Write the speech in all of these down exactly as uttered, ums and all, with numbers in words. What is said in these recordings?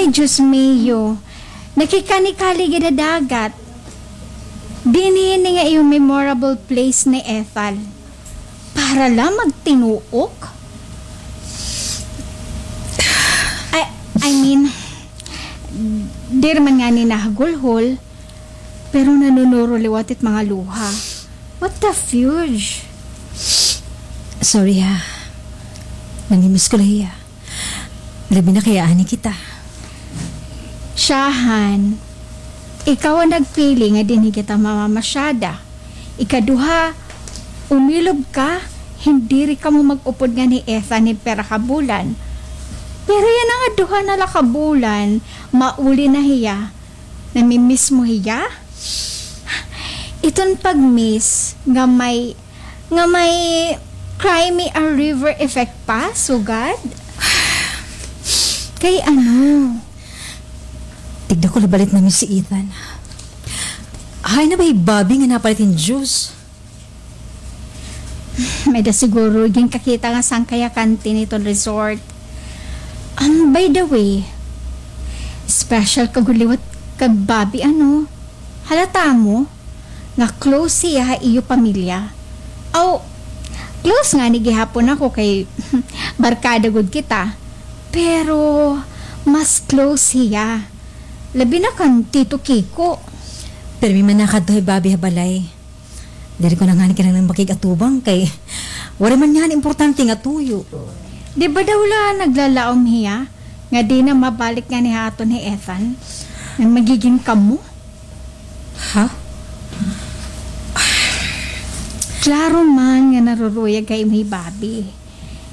Ay, Diyos mio. Nakikanikali gid ha dagat. Dinhi ini nga iyo memorable place ni Ethel. Para la magtinuok? I, I mean, diri man ngani nahagulhol, pero nanunuro liwat it mga luha. What the fudge? Sorry, ha. Namimiss ko la hiya. Labi na kay aanhi kita. Siyahan, ikaw an nagpili nga dinhi kita mamamasyada. Ikaduha, umilob ka, hin diri kamo mag-upod nganhi Ethan hin pira ka bulan. Pero yana nga duha na la ka bulan, mauli na hiya. Namimiss mo hiya? Iton pag-miss nga may, nga may cry me a river effect pa, sugad? Kay ano? Tigda ko la balit na-miss si Ethan. Hain na ba hi Bobby nga napalit hin juice? May-ada siguro ginkakita nga sangkay ha kantin hiton resort. Um, by the way, special ka gud liwat kay Bobby, ano? Halata mo nga close hiya ha iyo pamilya. Aw, close ngani gihapon ako kay barkada gud kita. Pero mas close hiya. Labi na kan Tito Kiko. Pirmi man nakadto hi Bobby ha balay. Diri ko na ngani kinahanglan makig-atubang kay waray man ngani importante nga tuyo. Di ba daw la naglalaom hiya nga di na mabalik ngani ha aton hi Ethan? Nga magigin kamo? Ha? Klaro man nga naruruyag ha imo hi Bobby.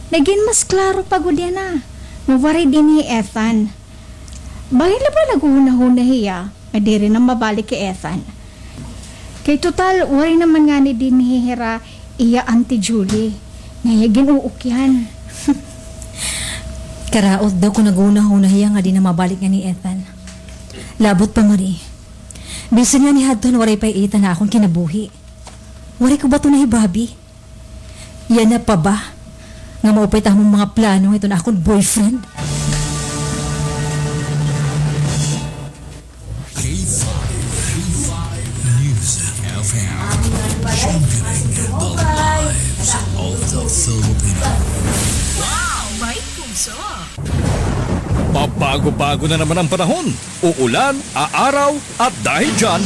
Nagin mas klaro pa gud yana nga waray dinhi hi Ethan. Bangin la ba naghuhunahuna hiya nga diri na mabalik hi Ethan? Kay total, waray naman ngani dinhi hira iya Auntie Julie nga iya gin-uukyan. Karaot daw kon naghuhunahuna hiya nga di na mabalik ngani hi Ethan. Labot pa, Marie. Bisan ngani hadton waray pa hi Ethan ha akon kinabuhi. Waray ko baton na hi Bobby. Yana pa ba nga maupay it amon mga plano hiton akon boyfriend? K five, K five News F M, championing the lives of the Filipino. Wow, may puso! Pabago-bago na naman ang panahon. Uulan, aaraw, at dahil dyan,